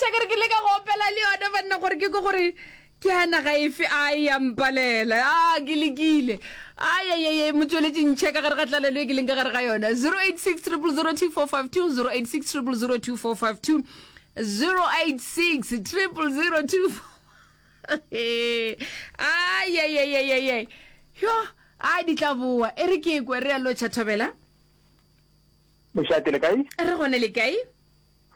Koša ke re ke leka go opela le yona banna gore ke ko gore ke ya naga efe a e ya mpalela a ke lekile ayayaya motsweletši ntšhe ka gare ga tlalelo e ke leng ka gare ga yona 086 000 2452 086 000 2452 086 000 ayayayayay yo a di tla boa e re ke kwe re a lotšha thobela Mošate le kae? Re gone le kae?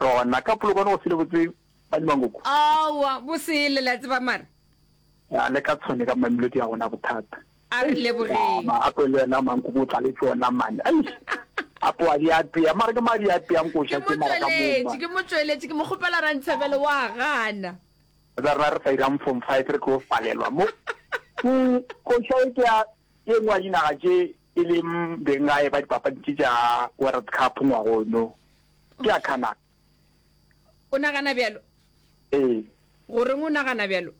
Re gona ka polokwane go sele botse ba Mangoku. Aowa, bo sele la tseba mara. Ya le ka tshwane ka Mamelodi ya gona bothata. A re lebogeng. Ma apo le yena Mankuku o tlaletše ona mane. Eish. Apo a di apea mara ke madi a apeang koša Ke tše mara ka mo mo. tšweletše, ke mo tšweletše, ke mo kgopela Rantshebele wa gana. Tsa rena re sa irang form 5 re tlo palelwa mo. Mm, koša e ke ya e nngwe ya dinaga tše e leng benggae ba dipapadi tše tša World Cup ngwagono. Ke ya Canada. O nagana bjalo? Ee. Goreng o nagana bjalo?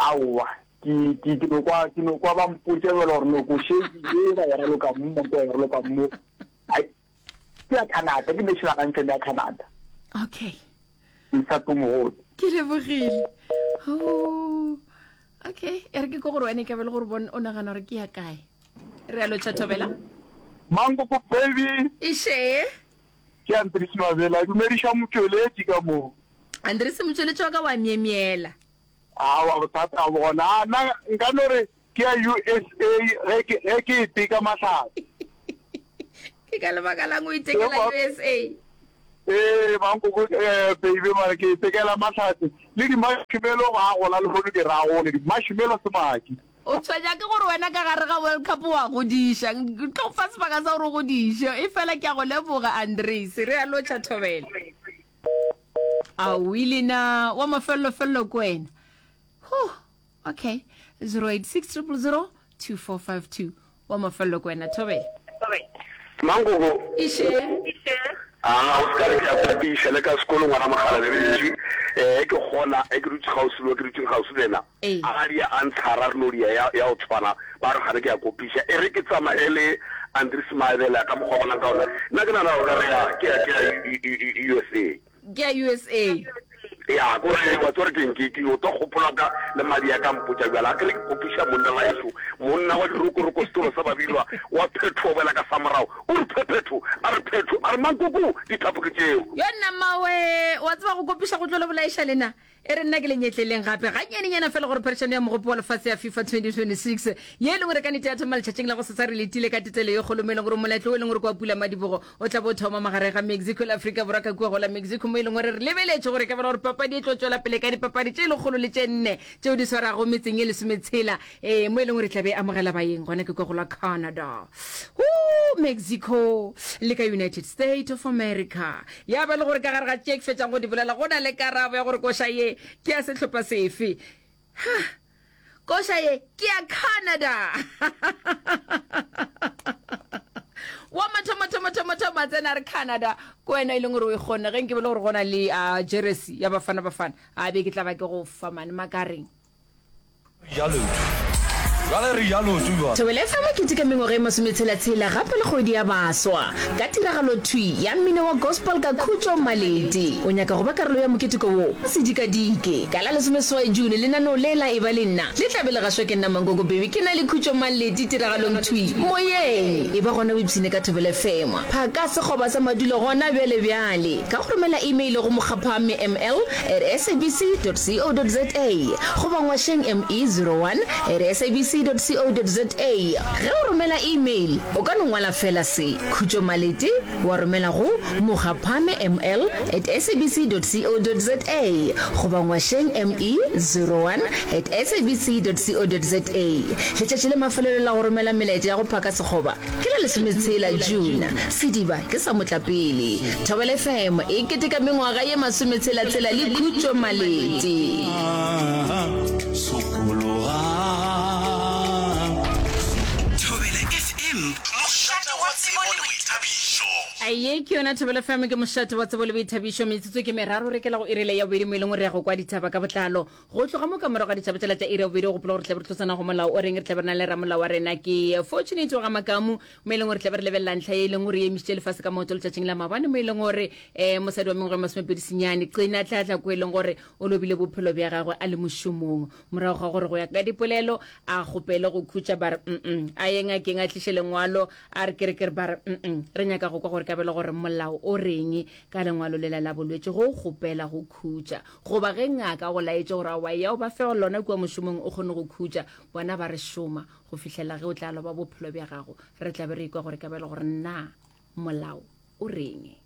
Aowa, ke, ke, ke no kwa, ke no kwa ba mpotša bjalo gore no koše ye ba e raloka mo, ba e raloka mo. Ai, ke ya Canada, ke national anthem ya Canada. Okay. Msato mogolo. Ke lebogile. Oh, okay, e re ke ko gore wena e ka be le gore bon o nagana gore ke ya kae. Re a lotšha Thobela. Mankoko baby. Iše. Ke Andries Mabela, dumediša motšweletši ka mo. Andries motšweletši wa ka wa myemyela. Aowa bothata ga bo gona. A nna nka no re ke ya USA ge ke ge ke e teka mahlatse. Ke ka lebaka lang o itekela USA? Ee, mankoko eh, baby mara ke itekela mahlatse le di-marshmallow go a gola lehono ke ra gole di-marshmallow semaki. O tshwenya ke gore wena ka gare ga World Cup wa godiša. Ke tlo go fa sebaka sa gore o godiše. Efela ke a go leboga, Andries. Re a lotšha, Thobela. Aowi lena, wa mafelelo-felelo ke wena. Huh, okay. 086 000 2452. Wa mafelelo ke wena, Thobela. Mankoko. Iše. A o se ka re ke a kopiša le ka sekolo ngwana mogala le eh ke gona e ke dutse gausi le ke dutse gausi le ena. Ee. A di a ntshara re no dia ya ya o tshwana ba re gane ke a kopiša e re ke tsamaye le Andries Maebela ka mokgwa bonang ka ona nna ke nana gore re ya ke ya ke ya USA. Ke ya USA. Ya ko re wa tsore ke ke ke o tlo gopola ka le madi a ka mpotša bjala a ke re ke kopiša monna wa eso monna wa dirokoroko setolo sa babilwa wa phetho boela ka samorago o re phephetho a re phetho a re mankoko dithapo ke tšeo. Yo nna mmawe wa tseba go kopiša go tlo le bolaiša lena E re nna ke le nyetleleng gape gannyanenyana fela gore phadišano ya Mogopo wa Lefase ya FIFA 2026 ye e leng gore ka nete ya thoma letšatšing la gosasa re letile ka tetelo ye kgolo mo e leng gore moletlo o e leng gore ke wa pulamadibogo o tla bo o thoma magareng ga Mexico le Afrika Borwa ka kua go la Mexico mo e leng gore re lebeletše gore e ka ba gore papadi e tlo tšwela pele ka dipapadi tše lekgolo le tše nne tšeo di swarago metseng ye lesometshela ee mo e leng gore e tla be e amogela baeng gona ke kua go la Canada Woo, Mexico le ka United States of America Ya ba le gore ka gare ga tše ke fetšang go di bolela go na le karabo ya gore koša ye ke ya sehlopha sefe. Ha! Koša ye ke ya Canada. Wa mathomo thomo thomo thomo a tsena a re Canada ke wena e leng gore o e kgonne ge nke be le gore go na le uh, jeresi ya Bafana Bafana a be ke tla ba ke go fa mane makareng. Thobela FM e keteka mengwaga e masometshela-tshela gape le kgwedi ya baswa ka tiragalo thwi ya mmino wa gospel ka Khutšo Malete. O nyaka go ba karolo ya moketeko wo? Se dikadike! Ka la lesomeseswai June lenaneo le la Eba le Nna le tla be le gašwa ke nna Mankoko Baby ke na le Khutšo Malete tiragalong thwi moyeng. Eba gona o ipshine ka Thobela FM. Phaka sekgoba sa madulo gona bjale bjale ka go romela email go mokgaphame ml at sabc dot co dot za goba ngwašeng me 01 at sabc dot co dot za. Ge o romela email o ka no ngwala fela se, Khutšo Malete, wa romela go mokgaphame ml at sabc dot co dot za goba ngwašeng me 01 at sabc dot co dot za. Letšatši la mafelelo la go romela melaetša ya go phaka sekgoba Ke la lesometshela June, sediba ke sa motlapele. Thobela FM e keteka mengwaga ye masometshela-tshela le Khutšo Malete. Thobela FM, mošate wa tsebo le boithabišo. Ye ke yona Thobela FM, ke mošate wa tsebo le boithabišo. Metsotso ke meraro re kela go iri le ya bobedi mo e leng gore re ya go kwa ditaba ka botlalo. Go tloga mo ka morago ga ditaba tšela tša iri ya bobedi, gopola gore re tla be re tlosana go molao o reng, re tla be re na le ramolao wa rena ke Fortunate wa ga Makamu mo e leng gore re tla be re lebelela ntlha ye e leng gore e emišitše lefase ka maoto letšatšing la maabane mo e leng gore um mosadi wa mengwaga e masomepedi senyane Qina Tlatla ko e leng gore o lobile bophelo bja gagwe a le mošomong morago ga gore go ya ka dipolelo a kgopele go khutša ba re mm a ye ngakeng a tliše lengwalo a re kere kere ba re mm re nyaka go kwa gore kabelo gore molao o reng ka lengwalo lela la bolwetši go kgopela go khutša goba ge ngaka go laetše gore aowa ya o ba fe lona kua mošomong o kgone go khutša bona ba re šoma go fihlela ge o tla loba bophelo bja gago re tla be re ikwa gore kabelo gore na molao o reng.